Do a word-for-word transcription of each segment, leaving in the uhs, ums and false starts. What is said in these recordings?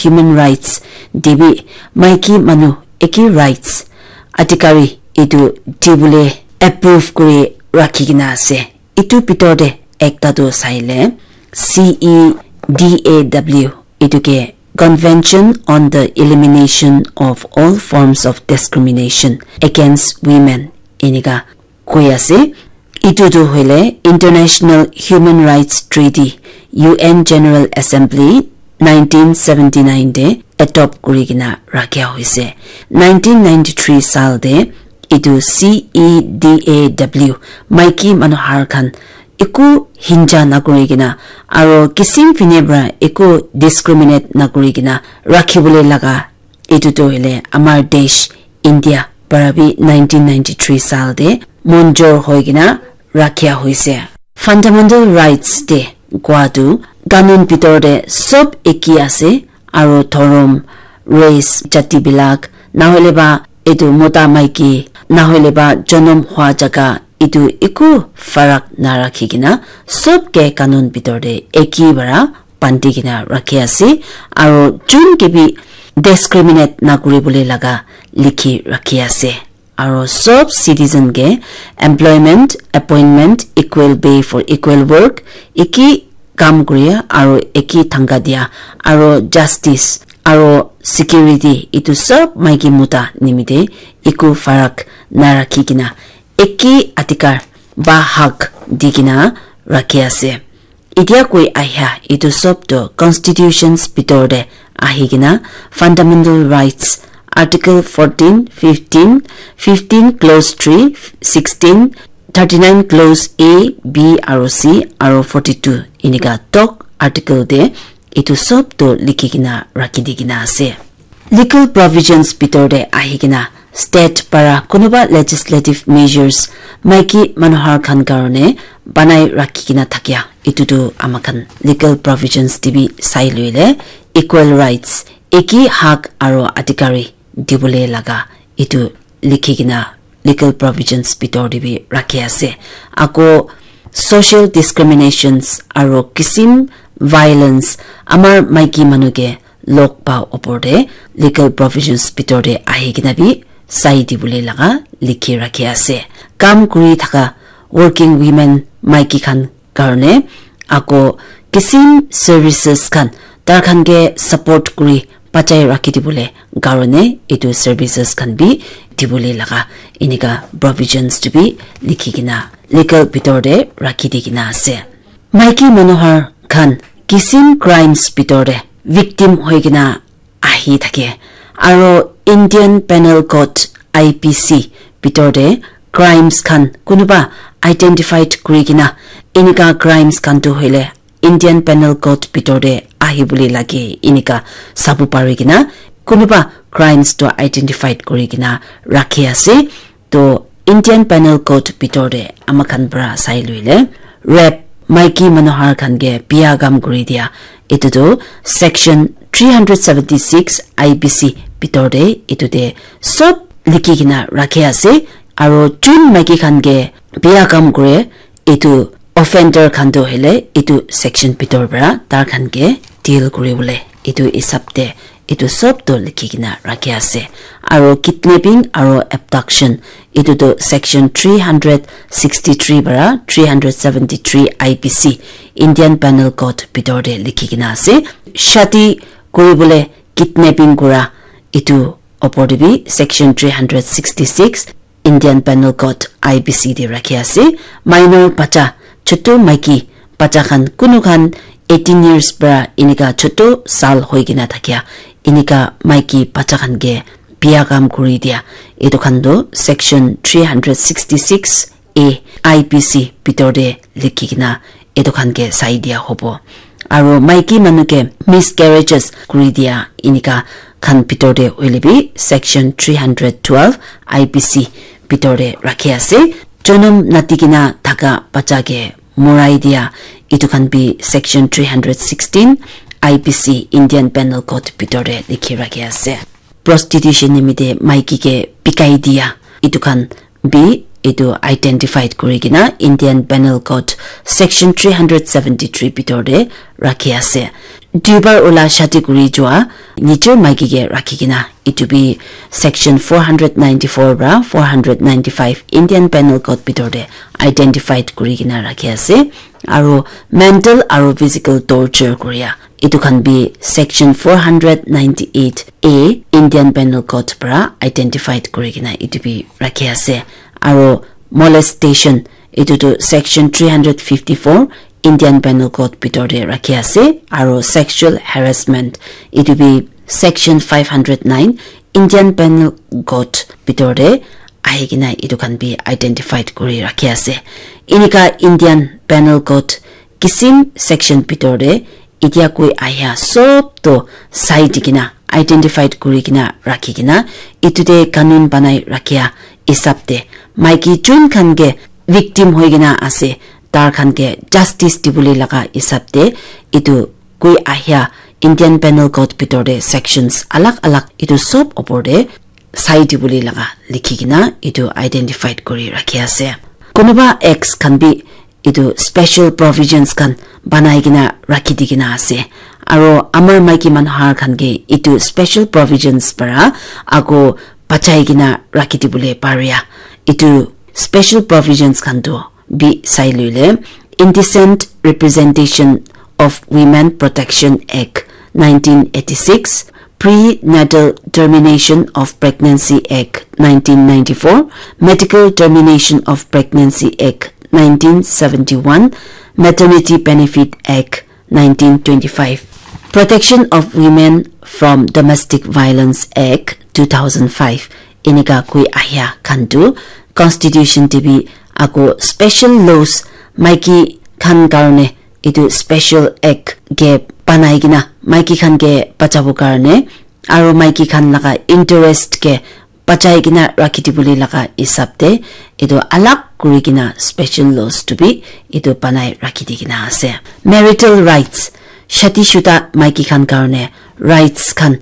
Human Rights te bi maiki manu eki rights adhikari etu dibole approve kuri rakhi kena ase. Etu bitor te ekta tu saile C E D A W, etu ke Convention on the Elimination of All Forms of Discrimination Against Women, enika koi ase. Etu tu hoile International Human Rights Treaty, U N General Assembly nineteen seventy nine te adopt kuri kena rakhia hoise. Nineteen ninety three saal te etu C E D A W maiki manu har khan eku hinja nakuri kena aro kisim fine para eku discriminate nakuri kena rakhibole laga etu tu hoile amar desh India para bi nineteen ninety three saal te monjor hoi kena rakhia hoise. Fundamental rights te kua tu kanun bitor te sob eki ase, aro dhorom, race, jati bilak, nahoile ba etu mota maiki, nahoile ba jonom hua jaga, etu eku farak narakhi kena sob ke kanun bitor te eki para bandi kena rakhi ase, aro jun ke bi discriminate nakuri bole laga likhi rakhi ase. Aro sob citizen ke employment, appointment, equal pay for equal work, eki kam kuria aro eki thangka dia aro justice aro security, etu sob maiki mota nimite eku farak narakhi kena eki adhikar ba hak di kena rakhi ase. Etia koi ahia etu sob tu constitutions bitor te ahi kena fundamental rights article fourteen, fifteen, fifteen clause three, sixteen, thirty nine clause A, B aro C aro forty two enika tok article te etu sob tu likhi kena rakhi di kena ase. Legal provisions bitor te ahi kena state para kunuba legislative measures maiki manu har khan karone banai rakhi kena thakia, etu tu ama khan legal provisions te bi sai loile equal rights, eki hak aro adhikari dibole laga etu likhi kena legal provisions bitor te bi rakhi ase. Ako social discriminations aro kisim violence amar maiki manu ke log pa opor te legal provisions bitor te ahi kena bi sai dibole laga likhi rakhi ase. Kam kuri thaka working women maiki khan karone ako kisim services khan tar khan ke support kuri bachai rakhi dibole karone etu services khan bi dibole laga enika provisions tu bi likhi kena legal bitor te rakhi di kena ase. Maiki manu har khan kisim crimes bitor te victim hoi kena ahi thake. Aro Indian Penal Code, I P C, bitor te crimes khan kunuba identified kuri kena enika crimes khan tu hoile Indian Penal Code bitor te ahi bole lage enika sabu pari kena kunuba crimes tu identified kuri kena rakhi ase. To Indian Penal Code bitor te ama khan para sai loile rape, maiki manu har khan ke bia kam kuri dia, etu tu section three hundred seventy six I P C bitor te etu te sob likhi kena rakhi ase. Aro jun maiki khan ke bia kam kure etu offender khan tu hoile etu section bitor para tar khan ke deal kuri bole etu hisab te etu sob tu likhi kena rakhi ase. Aro kidnapping aro abduction etu tu section three hundred sixty three para three hundred seventy three I P C, Indian Penal Code bitor te likhi kena ase. Shadi kuri bole kidnapping kura etu opor te bi section three hundred sixty six Indian Penal Code, I P C, te rakhi ase. Minor bacha, chotu maiki bacha khan, kunu khan eighteen years para enika chotu saal hoi kena thakia enika maiki bacha khan ke bia kam kuri dia, etu khan tu section three hundred sixty six A I P C bitor te likhi kena etu khan ke sai dia hobo. Aro maiki manu ke miscarriages kuri dia enika khan bitor te hoile bi section three hundred twelve I P C bitor te rakhi ase. Jonom nati kena thaka bacha ke morai dia, etu khan bi section three hundred sixteen I P C, Indian Penal Code, bitor te likhi rakhi ase. Prostitution nimite maiki ke bikai dia, etu khan bi etu identified kuri kena Indian Penal Code section three hundred seventy-three bitor te rakhi ase. Duibar ula shadi kuri jua nijor maiki ke rakhi kena etu bi section four hundred ninety-four pra four hundred ninety-five Indian Penal Code bitor te identified kuri kena rakhi ase. Aro mental aro physical torture kuria etu khan bi section four hundred ninety-eight A Indian Penal Code pra identified kuri kena etu bi rakhi ase. Aro molestation etu tu section three hundred fifty-four Indian Penal Code bitor te rakhi ase. Aro sexual harassment etu bi section five hundred nine Indian Penal Code bitor te ahi kena etu khan bi identified kuri rakhi ase. Enika Indian Penal Code kisim section bitor te etia koi ahia sob to sai di kena identified kuri kena rakhi kena etu te kanun banai rakhia hisab te maiki jun khan ke victim hoi kena ase tar khan ke justice dibole laga hisab te etu koi ahia Indian Penal Code bitor te sections alag alag etu sob opor te sai dibole laga likhi kena etu identified kuri rakhi ase. Kunuba acts khan bi etu special provisions khan banai kena rakhi di kena ase. Aro amar maiki manu har khan ke etu special provisions para ako bachai kena rakhi dibole paria. Etu special provisions khan tu bi sai luile Indecent Representation of Women Protection Act nineteen eighty-six, Prenatal Termination of Pregnancy Act nineteen ninety-four, Medical Termination of Pregnancy Act nineteen seventy-one, Maternity Benefit Act nineteen twenty-five, Protection of Women from Domestic Violence Act two thousand five, enika koi ahia khan tu constitution te bi ako special laws maiki khan karne etu special act ke banai kena maiki khan ke bachabo karne aro maiki khan laga interest ke bachai kena rakhi dibole laga hisab te etu alag kuri kena special laws tu bi etu banai rakhi di kena ase. Marital rights, shadi shuda maiki khan karne rights khan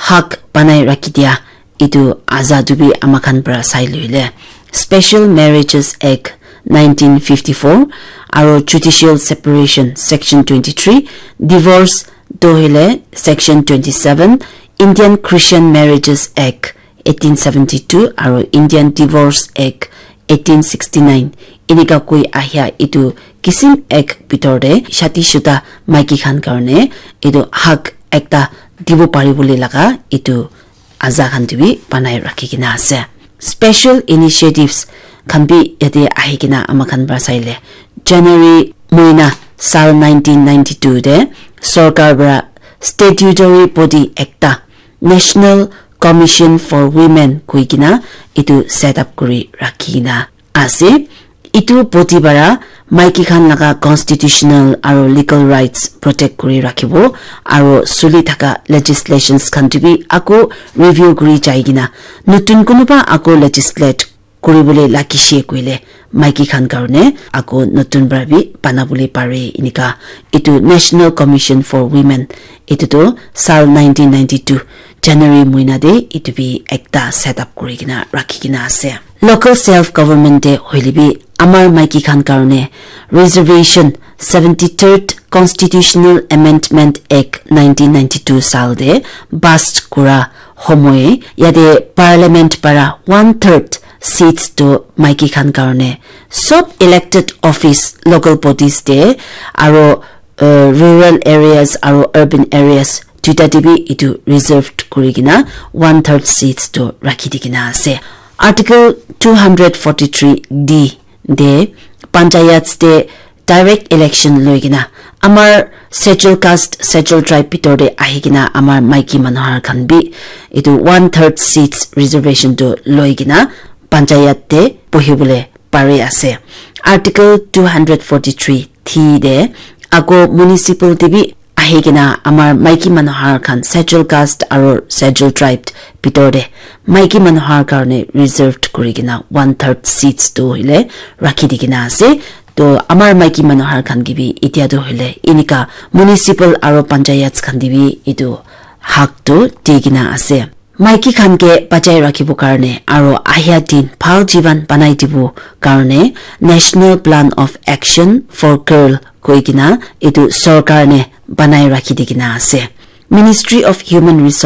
hak banai rakhi dia etu aza tu bi ama khan para sai luile Special Marriages Act nineteen fifty-four aro Judicial Separation section twenty-three, divorce to hoile section twenty-seven, Indian Christian Marriages Act eighteen seventy-two aro Indian Divorce Act eighteen sixty-nine. Enika koi ahia etu kisim act bitor te shadi shuda maiki khan karne etu hak ekta dibo pari bole laga etu aza khan tu bi banai rakhi kena ase. Special initiatives khan bi yate ahi kena ama khan para saile January moina sal nineteen ninety-two te sorkar para statutory body ekta National Commission for Women koi kena etu set up kuri rakhi kena ase. Etu body para maiki khan laga constitutional aro legal rights protect kuri rakhibo aro suli thaka legislations khan tu bi ako review kuri jai kena notun kunuba ako legislate kuri bole lagi she koile maiki khan karne ako notun para bi bana bole pare enika etu National Commission for Women etu tu sal nineteen ninety-two January moina te etu bi ekta set up kuri kena rakhi kena ase. Local self government te hoile bi amar maiki khan karne reservation seventy-third Constitutional Amendment Act nineteen ninety-two sal te pass kura homoy yate parliament para one third seats to maiki khan karne sob elected office local bodies te aro uh, rural areas aro urban areas duita te bi etu reserved kuri kena one third seats to rakhi di kena ase. Article two hundred forty-three D te panchayats te direct election loi kena amar schedule caste schedule tribe bitor te ahi kena amar maiki manu har khan bi etu one third seats reservation to loi kena panchayat te bohi bole pari ase. Article two hundred forty-three D te ako municipal te bi ahi kena amar maiki manu har khan schedule caste aro schedule tribe bitor te maiki manu har karne reserved kuri kena one third seats tu hoile rakhi di kena ase. To amar maiki manu har khan ke bi etia tu hoile enika municipal aro panchayats khan te bi etu hak tu di kena ase. Maiki khan ke bachai rakhibo karne aro ahia din bhal jiban banai dibo karne National Plan of Action for Girl koi kena etu sorkar ne banai rakhi di kena ase. Ministry of Human Resource